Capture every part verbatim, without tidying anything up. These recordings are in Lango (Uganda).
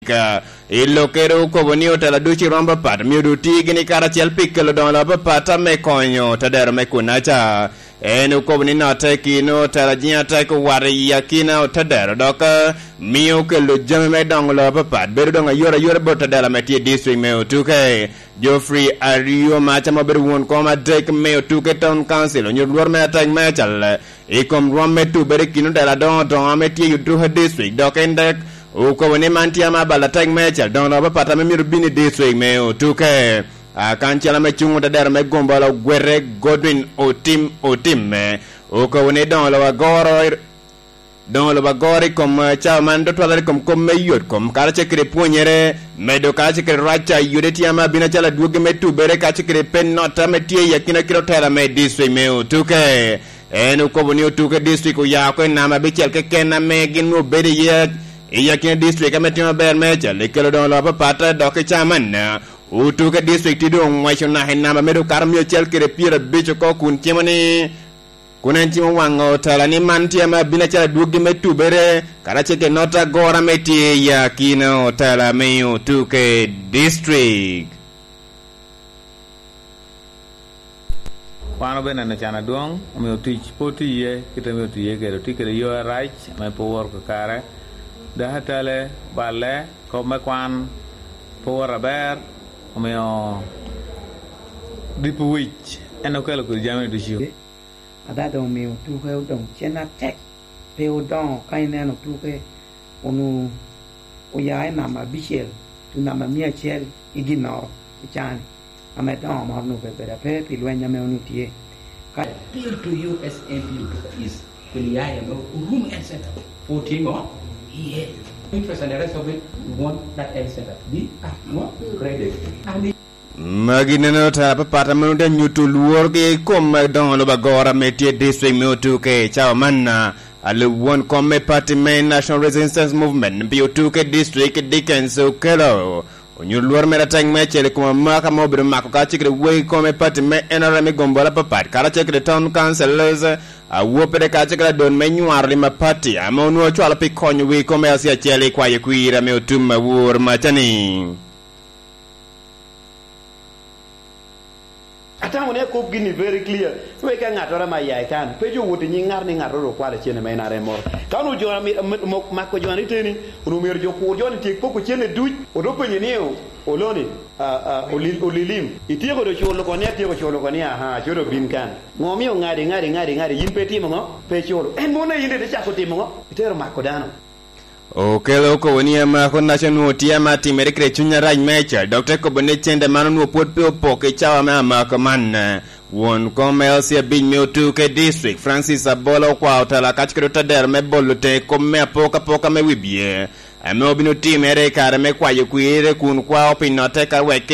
District. I lokkere okobo ni otela ducu i rwom apapat myero doŋ oti gini karacel pi kelo doŋo lok apapat ame konyo tadero me kunaca. En okobo ni notte i kin otela jiŋ atek owato i akina otadero dok mio kelo jami me doŋo lok apapat bedo doŋ ayot ayot bot tadero ame tye i district me Otuke. Geoffrey Aryo Maca ma obedo won kom adek me Otuke Town Council onyo lworo me atek me acal i kom rwom me tubere i kin otela adoŋo doŋo ame tye i Otuke District dok en dek okobo ni man tye ama abalo atek me acal doŋo lok apapat ame myero bin i district me Otuke. Akancel ame cuŋ otedero me gombolola ogwete Godwin Otim Otimme okobo ni doŋo lok agoro doŋo lok agoro i kom eh, cawa man tutwalere i kom kop me yot kom karacel kede pwonyere medo karacel kede rac a yode tye ame abino acalo adwogi me tubere karacel kede pe nota ame tye i akina kede otela me district me Otuke. En okobo ni Otuke district oya oko i namba abicel keken ame gin obedo iye i akina district ame timo aber meicel i kelo doŋo lok apapat dok i cawa man Otuke district tye doŋ oŋweco naka i namba me doŋ kato mia acel kede pyerabicel oko kun cimo ni kun en cimo waŋo otela ni man tye ame abino acalo adwoggi me tubere karacel kede nota agora ame tye i akina otela me Otuke district. Wan obeneno can adwoŋ, omio tic pe otye iye kit ame otye iye kede, otye kede yo arac ame pe oworo kakare. Dok atale, balle, kop me kwan pe oworo aber, omio dipo wic en okelo kodi jami-ni ducu. Ada doŋ omio tuke odoŋ cen atek. Pe odoŋo ka ineno tuke onwoŋo oya i namba abicel tu namba mia acel i ginnoro i caa-ni, ame doŋo moro onwoŋo obedo ape pi lweny ame onwoŋo tye. Ka appeal to you as M P of East Kweliaye ame orum health center for tye ŋo? Iye. Interest and the rest of it, we want that health center to be ŋo? Upgraded. And Magi neno tara apapat ame onwoŋo tye nyuto lworgi i kom doŋo lobo agora ame tye i district me Otuke i cawa man. Alub won kom me pati me National Resistance Movement pi Otuke District Dickens Okello onyuto lworo mere atek meicel i kom amaka ma obedo mako kacel kede wegi kom me pati me N R M i gombolola apapat karacel kede town councillors, awoppere kacel kede adon me nywaro lim a pati ame onwoŋo ocwalo pi konyo wegi kom me aci acel i kwayo kwir ame otum awor macani. Atamo ni akop gini very clear, wek ka ŋattoro ame aya i kan, pe jo wot i nyiŋ ŋat ni ŋattoro okwalo cene ma en are moro. Ka onwoŋo jo ami- ami- mo- mako jo ni teni, onwoŋo myero jo kur jo ni tyek poko cene duc, odo penye ni, "O- Oloni, a- a- Oli- Olilim, ityeko do culo oko?" Ni, "Atyeko culo oko." Ni, "Aha, codo bin kan. Ŋo omio ŋadi, ŋadi, ŋadi, ŋadi, yin pe itimo ŋo? Pe iculo." En mono in ite cako timo ŋo? Itero mako dano. Okelo okobo ni amako naco onwoŋo tye ame atimere kede cuny arac meicel dok te kobo ni cente man onwoŋo pwod pe opok i cawa me amako man. Won kom L C abic me Otuke District, Francis Abola okwao tela kaco kede otadero me bolo teŋe kop me apokapoka me wibye ame obino timere i kare me kwayo kwirre kun kwao pi notte ka wek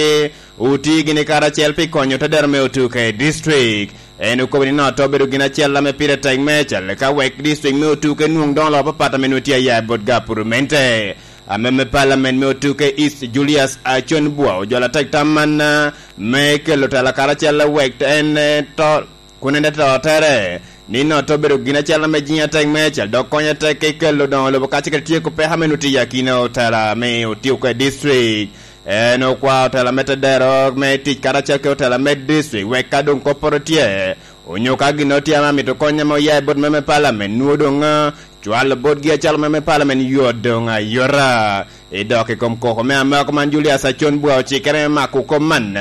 oti gini karacel pi konyo otadero me Otuke District. En okobo ni nongo obedo gin acel ame pire tek meicel ka wek district me Otuke nwoŋ doŋo lok apapat ame nwoŋo tye aya bot gapurumente. Ame me palamen me Otuke East Julius Acon Bwa ojolo atek tam man me kelo tela karacel wek en to kun en to tere ni nongo obedo gin acel ame jiŋ atek meicel dok konyo atek i kelo doŋo lobo kacel kede tyeko peko ame nwoŋo tye i akina otela me Otuke District. En okwao otela me tedero me tic karacel kede otela me district wek ka doŋ kopporo tye onyo ka ginnoro tye ame amito kony ame oya i bot meme palamen nwoŋo doŋ cwalo botgi acalo meme palamen yot doŋ ayota. I dok i kom koko me amako man Julius Acon Bwa ocikere me mako kop man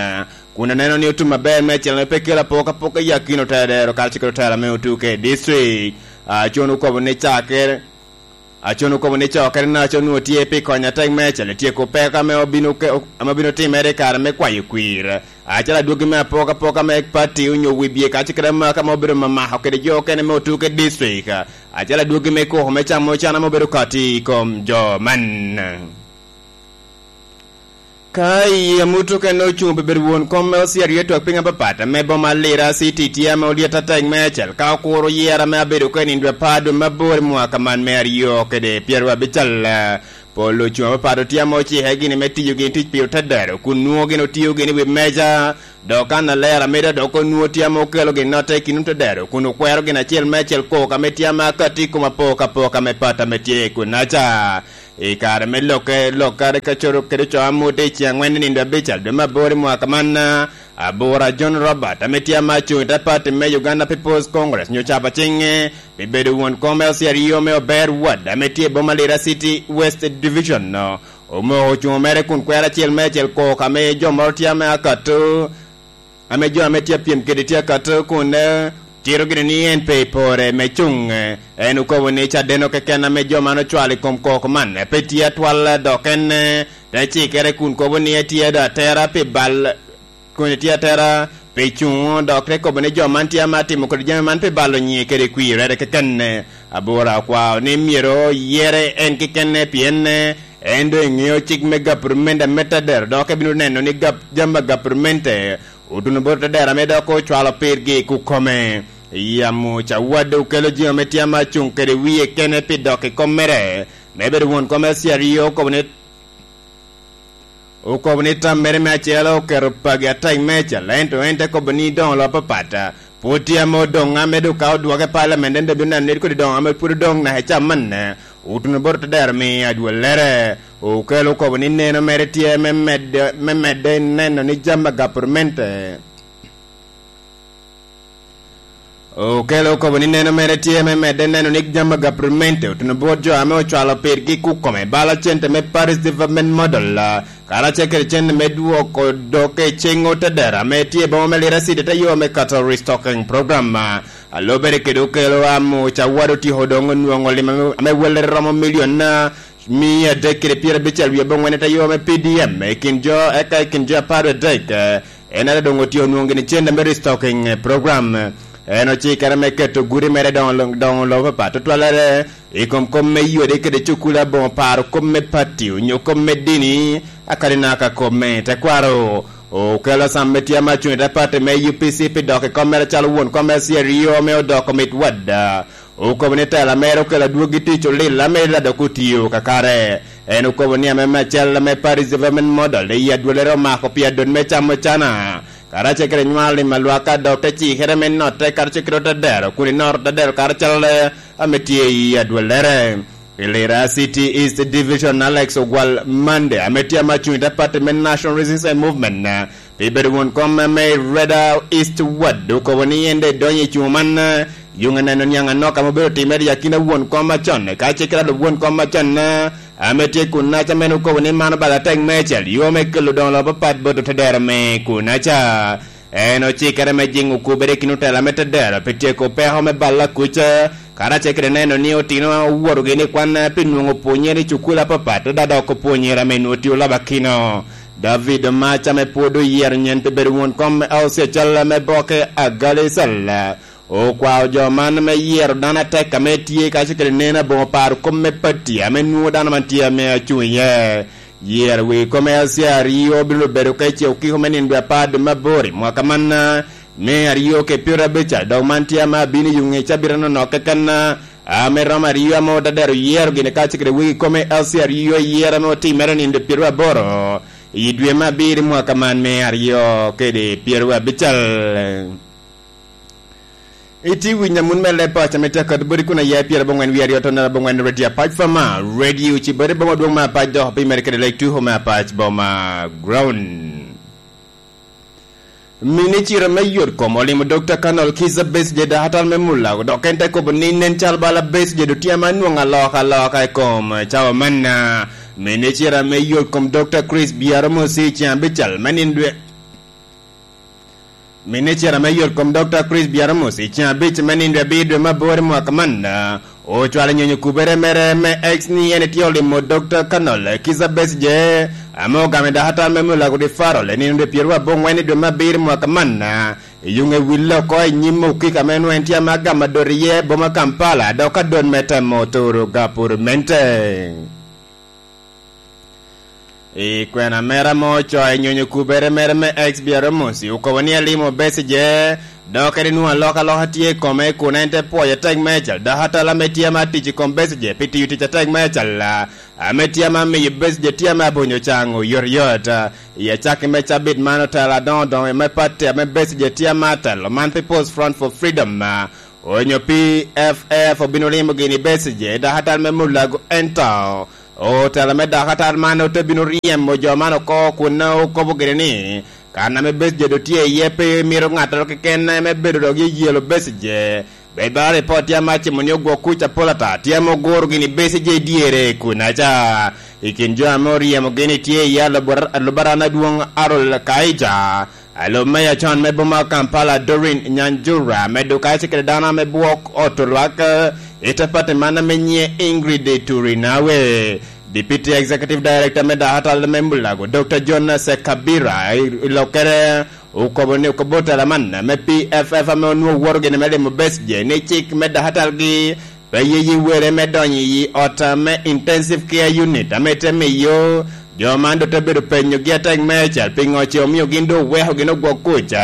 kun oneno ni otum aber meicel ame pe kelo apokapoka i akina otela dero karacel kede otela me Otuke District. Acon okobo ni cakere Acon okobo ni cokere naco onwoŋo tye pi konyo atek meicel i tyeko peko ame obino ke- ame obino timere i kare me kwayo kwir. Acalo adwogi me apokapoka me pati onyo wibye kacel kede amaka ma obedo mamako kede jo okene me Otuke District. Acalo adwogi me koko me camo can ame obedo kati i kom jo man. Ka i amut okene ocuŋ pi bedo won kom me osier yet twak piny apapat ame boma Lira City tye ame olyet atek meicel ka okuro yera me abedo kene i dwe apar dwe me aboro i mwaka man me aryo kede pyeraryo abicel. Pol ocuŋ apapat otye ame ocike gini me tiyo gini tic pi otedero kun nwoŋo gini otiyo gini i wi meja dok kan alero ameda dok onwoŋo tye ame okelo gin notte i kin otedero kun okwero gin acel me acel kok ame tye ame akati i kom apokapoka me pat ame tye i kunaca. I kare me lokke, lokkere ka coro kede co amute i ceng angwen i nindo abical dwe me aboro i mwaka man, Abura John Robert, ame tye ama cuŋ i te pati me Uganda People's Congress, nyo capo ciŋe pi bedo won kom L C R E O me Ober Ward, ame tye i boma Lira City West Division, no omoko cuŋo mere kun kwero acel me acel kok ame jo moro tye ame akato, ame jo ame tye apyem kede tye akato kun, eh, tito gini ni en pe i pore me cuŋ. Eh, en okobo ni cadeno keken ame jo man ocwalo i kom kok man, eh, pe tye atwal, eh, dok en, eh, te cikere kun kobo ni etye do atera pi bal, kun etye atera pi cuŋo, dok te kobo ni jo man tye ame atimo kodi jami man pi balo nyiŋe kede kwirere keken. Eh, Abura okwao ni myero yere en keken, eh, pien, eh, en doŋ eŋeo cik me gapurumende ame tadero, dok ebino neno ni gap-, jami a gapurumende otuno bot tadero ame dok ocwalo pirgi i kukome. Yamo Cawadde okelo jami ame tye ama cuŋ kede wie kene pi dok i kom mere, me bedo won kom L C R E O okobo ni, okobo ni tam mere me acel oketo pagi atek meicel, ento en te kobo ni doŋ olo apapat pwod tye ame odoŋ, ame doŋ ka odwoke i palamen, en doŋ bino neno ni kodi doŋ ame pwod odoŋ naka i cam man, otuno bot tadero me adwollere. Okelo okobo ni neno mere tye me medde, me medde neno ni jami a gapurmente. Okelo okobo ni neno mere tye me medde neno ni jami a gapurmente otuno bot jo ame ocwalo pirgi kukome bala cente me Parish Development Model, ah, karacel kede cente me dwoko dok i cing otedera ame tye i boma me Lira City te yo me kato restocking program, ah, a lubere kede okelo amo Cawad otyeko doŋ onwoŋo lim ame, ame wellere romo milion, ah, mia adek kede pyerabicel wie abongwen i te yo me P D M i kin jo, eka i kin jo apar adek, eh, en ate doŋ otyeko nwoŋo gini cente me restocking, eh, program. En ocikere me keto gudi mere doŋo, doŋo lobo papat tutwalere i kom kop me yode kede cukul aboŋo paro kop me pati onyo kop me dini, akadi naka kop me tekwaro. Okelo sam me tye ama cuŋ i te pati me U P C pi dok i kom mere calo won kom me C R E O me odoko mit wadda. Okobo ni tela mere okelo adwogi tic olil ame Ila dok otio kakare. En okobo ni ame me acel ame Parish Development Model i adwolere omako pi adot me camo cana, karacel kede nywalo lim alwaka dok te cikere me notte karacel kede otedero kun inoto otedero karacel ame tye i adwolere. I Lira City East Division, Alex Ogwal Mande ame tye ama cuŋ i te pati me National Resistance Movement, pi bedo won kom me Reda East Ward okobo ni en de donyo i cuŋ man, eh, yuŋ neno niaŋ anok ame obedo timere i akina won kom acon, ka cik ralo won kom acon, eh, ame tye kun naca mene okobo ni mano bala tek meicel, yo me kelo doŋo lobo apat bot otedero me kun naca. En ocikere me jiŋo kubere i kin otela me tedero pi tyeko peko me balla kuc, eh, karacel kede neno ni otino owoto gini kwan, eh, pi nwoŋo pwonyere i cukul apapat, oda dok opwonyere ame nwoŋo tio laba kino. David Omac ame pwod oyero nyen pi bedo won kom me auci acel me boke Agali Cell, okwao jo man me yero dano atek ame tye kacel kede neno aboŋo paro kom me pati ame nwoŋo dano man tye ame acuŋ iye. Yero wi kom L C R E O bino bedo ka ice okiko me nino dwe apar dwe me aboro i mwaka man, me aryo ke pyero abica, dok man tye ame abino i yuŋ i cabita nonok keken, ame romo aryo ame otadero yero gini kacel kede wegi kome L C R E O i yero ame otimere nino dwe pyero aboro i dwe me abiro i mwaka man me aryo kede pyero abical. Iti winyo amun me leb paco ame tye akato bodi kun aye pyero abongwen wie aryo tonere abongwen Radio Apac Fama, Radio Cibode boma dwong me Apac dok pi mere kede lek tuko me Apac boma ground. Minicita me yot kom olimo Dokta Colonel Kizza Besigye dok atal me Mulago, dok en te kobo ni nen cal bala Besigye dok tye ama nwoŋo aloka aloka i kom cawa manna. Minicita me yot kom Dokta Chris Byaramo Sir Ciabical me nino dwe Minicita me yot kom Dokta Chris Byaramo Sir Ciabic me nino dwe abiro dwe me aboro i mwaka man, ocwalo nyonyo kubere mere me X ni en etye olimo Dokta Colonel Kizza Besigye, ame ogamo i dakatal me Mulago Referral i nino dwe pyeraryo abongwen i dwe me abiro i mwaka man, i yuŋe wille oko i nyim okiko ame nwoŋo en tye ame agamo adot iye boma Kampala, dok adot me temo turo gapurmente. I kwena mere ame ocoo i nyonyo kubere mere me X Byaramo Sir okobo ni alimo Besigye, dok en enwoŋo alokaloka tye i kome kun en te pwoyo atek meicel, dok atala ame tye ame atic i kom Besigye pi tiyo tic atek meicel, ame tye ame amiyo Besigye tye ame abonyo caŋ oyotoyot. I acakki me cabit man otelo adoŋo doŋo me pati ame Besigye tye ame atelo man People's Front for Freedom, onyo P F F obino limo gini Besigye i dakatal me Mulago, ento Otela me dakatar man ote bino ryemo jo man oko kun okobo gire ni, kan ame Besigye doŋ tye iye pe mito ŋattoro keken me bedo dok yeyelo Besigye. Bed bala ripot tye ame acimo ni ogwok kuc apol ata tye ame oguro gini Besigye i dyere kunaca. I kin jo ame oryemogi ni tye iye alubara-, alubarana adwoŋ Arol Kaija, alo meya con me boma Kampala Doreen Nyanjura, medo kacel kede dano ame bwok oto lwak, eh, i te pati man ame nyiŋe Ingrid Turinawe. Deputy Executive Director me dakatal me Mulago, Doctor John Sekabira, i, i lokkere okobo ni okobo tela man me P F F ame onwoŋo woto gini me limo Besigye ni cik me dakatalgi pe yeye wele me donyo i ot me Intensive Care Unit ame te miyo jo man doŋ te bedo penyogi atek meicel piŋo ce omio gin doŋ oweko gin ogwok kuc,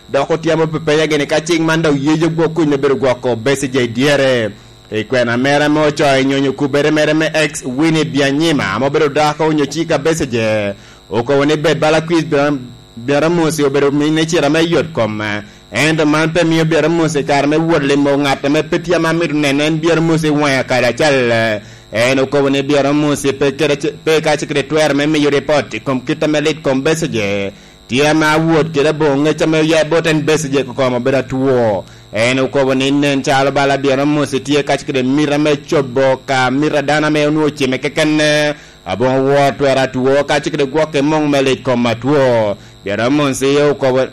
dok otyamo pepenya gini ka cik man doŋ yeyo gwok kuc me bedo gwoko Besigye i dyere. I kwena mere ame ocoyo nyonyo kubere mere me ex Winnie Byanyima ame obedo dako onyo cika Besigye, okobo ni bed bala kwir Bya-, Byaramosi obedo minne cira me yot kom, ento man pe mio Byaramosi kare me wot limo ŋat ame pe tye ame amito neno en Byaramosi waŋe kadi acel. En okobo ni Byaramosi pe kede ce-, pe ka ce kede twero me miyo ripot i kom kit ame lit kom Besigye tye ame awot kede aboŋo ŋec ame oya i bot en Besigye kokom obedo atwo. En okobo ni nen calo bala Byaramosi tye ka ce kede mita me cobo ka mita dano ame onwoŋo cime keken, aboŋo wor twero atwo ka ce kede gwok i muŋ me lit kom atwo. Byaramosi okobo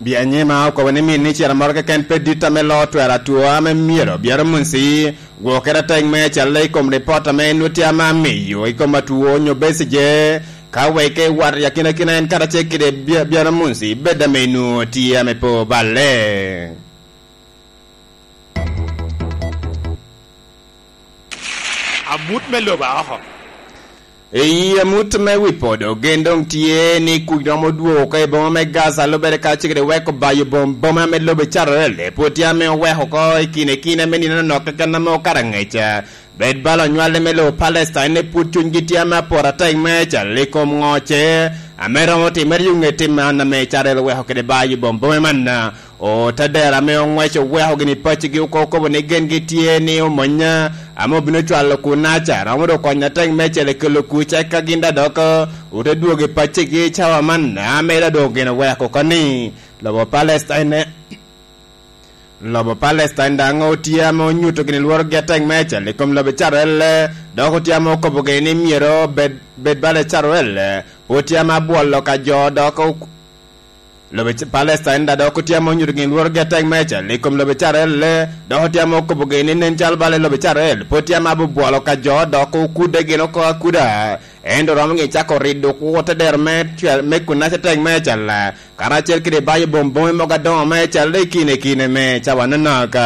Byanyima okobo ni min ni cira moro keken pe dit ame lo twero atwo ame myero Byaramosi gwokere atek me acalo i kom ripot ame en tye ame amiyo i kom atwo onyo Besigye, ka wek i wat i akinakina en karacel kede Bya-, Byaramosi bed ame nwoŋo tye ame pe oballe. Amut me lobo aoko. I amut me wi podo, gen doŋ tye ni kuc romo dwogo oko i boma me Gaza, lubere ka cik weko bayo bom boma me lobo Carel, pwod tye ame oweko oko i kine kine me nino anok keken ame okato aŋec. Bed bala onywale me lobo Palestine, ne pwod cunygi tye ame aporo atek me cal i kom ŋoce, ame romo timere yo ŋet tim man ame Carel oweko kede bayo bom boma man. Otadero ame oŋweco oweko gini paccigi oko okobo ni gen gitye ni omony ame obino cwalo kunaca romo dok konyo atek me cel i kelo kuc, eka gin daŋ dok ote dwogo i paccigi cawa man ame daŋ doŋ gin oweko oko ni lobo Palestine, lobo Palestine daŋ otye ame onyuto gini lworogi atek me cel i kom lobo Icrael, dok otye ame okobo gini ni myero bed, bed bala Icrael, otye ame abwolo ka jo dok Lobo Ic-, Palestine daŋ dok otye ame onyuto gin lworogi atek meicel i kom lobo Icrael, dok otye ame okobo gin ni nen calo bala i lobo Icrael pwod tye ame abubwolo ka jo dok okudde gin oko akuda. Ento romo gin cako rido kwo te dero me cwel-, me kunaca atek meicel, karacel kede bayo bom bome mogo adoŋo meicel i kine kine me cawa nonok.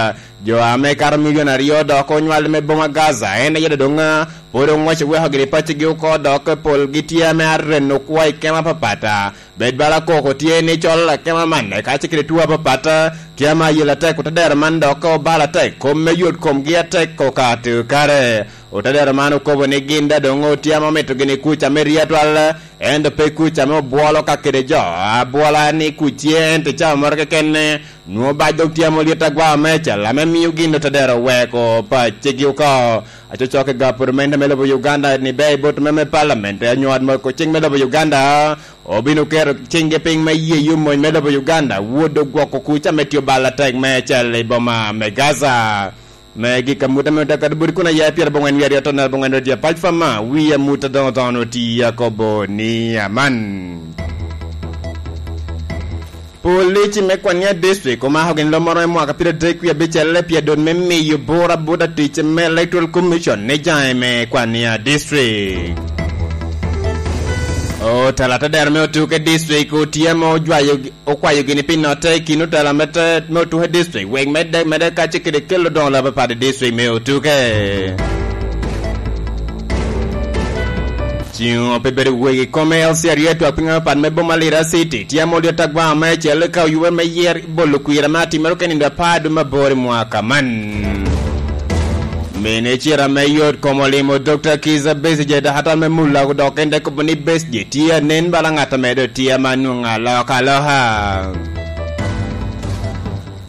Jo ame kato milion aryo dok onywal me boma Gaza, en aye doŋ pwod oŋweco weko gini paccigi oko dok polgi tye ame areno kwo i kema apapat. Bed bala koko tye ni col akema man, ka ce kede tuo apapat, tye ame ayel atek, otadero man dok obalo atek, kom me yot komgi atek okato kare. Otadero man okobo ni gin daŋ doŋ otye ame omito gini kuc ame ri atwal, ento pe kuc ame obwolo ka kede jo, abwola ni kuc tye ento i cawa moro keken, nwoŋo bac dok tye ame olyet agwa meicel, ame mio gin otadero weko paccegi oko. Acocok i gaputo mente me lobo Uganda ni ber i bot me, me palament, anyo ot moko cik me lobo Uganda, obino keto ciŋgi piny me yeyo mony me lobo Uganda, wot dok gwoko kuc ame tye obalo atek meicel i boma me Gaza. Me gik amut ame ote kadi boti kun aye pyerabongwen wiye aryo tonal bongwen rodi apac fama, wi amut adoŋo dono ti akobo ni aman. Polici me Kwania District omako gin lom moro me mwaka pyeradek wie abicel pi adot me miyo bura bot atic me Electoral Commission ni jaŋe me Kwania District. Otela te dero me Otuke District otye ame ojwayo, okwayo gini pi notte i kin otela me te, me Otuke District, wek medde, medde kacel kede kelo doŋo lab apat i district me Otuke. Ciŋo pe bedo wegi kome L C R U atwak piny apat me boma Lira City, tye ame olyet agwa meicel ka oyube me yer bolo kwira me atimere ka nindo apar dwe me aboro i mwaka man. Mene cira me yot kom olimo Doctor Kiza Besigye, dakatar me Mulago, dok en te kobo ni Besigye tye anen bala ŋat ame doŋ tye ame anwoŋo aloka aloka.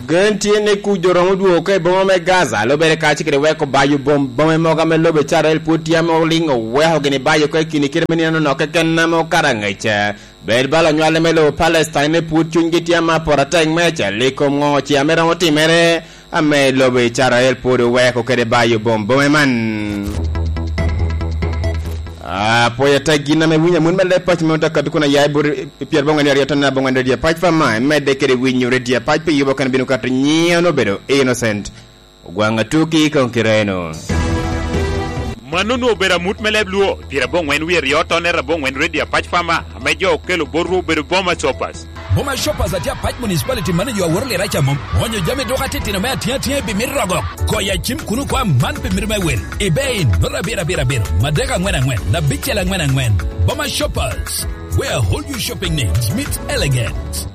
Gen tye ni kuc dong romo dwogo oko i boma me Gaza, lubere kacel kede weko bayo bom, bome mogo ame lobo Icrael pwod tye ame oliŋ oweko gini bayo oko i kine kite me nino nok keken ame okato angec. Bed bala onywale me lobo Palestine ni pwod cunygi tye ame apot atek me acel i kom ŋo ce ame romo timere, ame lobo Icrael pwod oweko kede bayo bom bome man. Apwoyo atek gin ame winyo amut me leb paco me Otakatuku na ya i bot i pyerabongwen aryo tonne abongwen redio apac pa ma, imedde kede winyo redio apac pi yubo kene bino kato nyiŋe obedo Innocent Ogwaŋ Atuki i Koŋ Kireno. Mano onwoŋo obedo amut me leb Luo, pyerabongwen wie aryo tonne abongwen redio apac pa ma, ame jo okelo botwu obedo Boma Shoppers. Boma Shoppers atye apac municipality manager a woro lira ca mom. Onyo jami duka titino me atiŋ atiŋ i bimit rogo. Goyo acim kuno kwa man pi mito me wil. Ibei, nota abiro abiro abiro, madek angwen angwen, abicel angwen angwen. Boma Shoppers, where all your shopping needs meet elegance.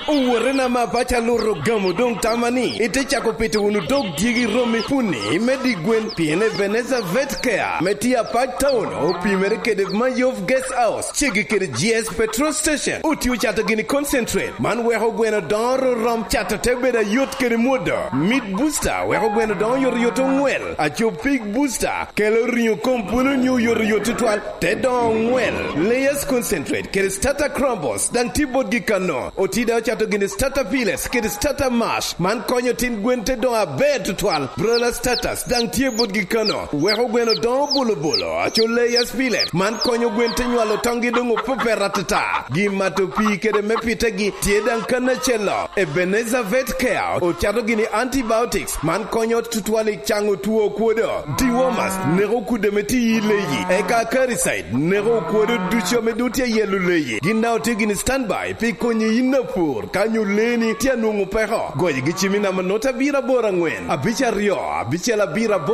Owotena ma paco aluto gamo doŋ tama ni ite cako pito wunu dog dyegi romi puni me di gwen, pien Ebenezer Vet Care me tye apac town opimere kede Mayov Guest House, ceggi kede G S Petrol Station. Otio cato gini concentrate, man weko gweno doŋo rom cato te bedo ayot kede mwodo. Meat Booster weko gweno doŋo yot yot oŋwel. Aco Pig Booster kelo riŋo kom pwolo nyo yot yot tutwal, te doŋo oŋwel. Layers Concentrate kede Starter Crumbles daŋ tye botgi kano. Otida ocato gini Starter Pellets kede Starter Mash, man konyo tin gwen te doŋo aber tutwal. Broiler Starters daŋ tye botgi kano, weko gweno doŋo bolo bolo. Aco Layers Pellet, man konyo gwen te nywalo toŋgi doŋ opepet atata. Gi mato pii kede me pitegi tye daŋ kan acel-lo. Ebenezer Vet Care ocato gini antibiotics, man konyo tutwal i caŋo two kwodo. Dewormers neko kudde ame tye i leyi, eka Acaricide neko okwodo ducu ame doŋ tye ayelo leyi. Gin daŋ otye gini standby pi konyi yin apur ka nyo leeni tye anwoŋo peko. Goyo gi cim i namba nota abiro aboro angwen, abic aryo, abicel abiro aboro.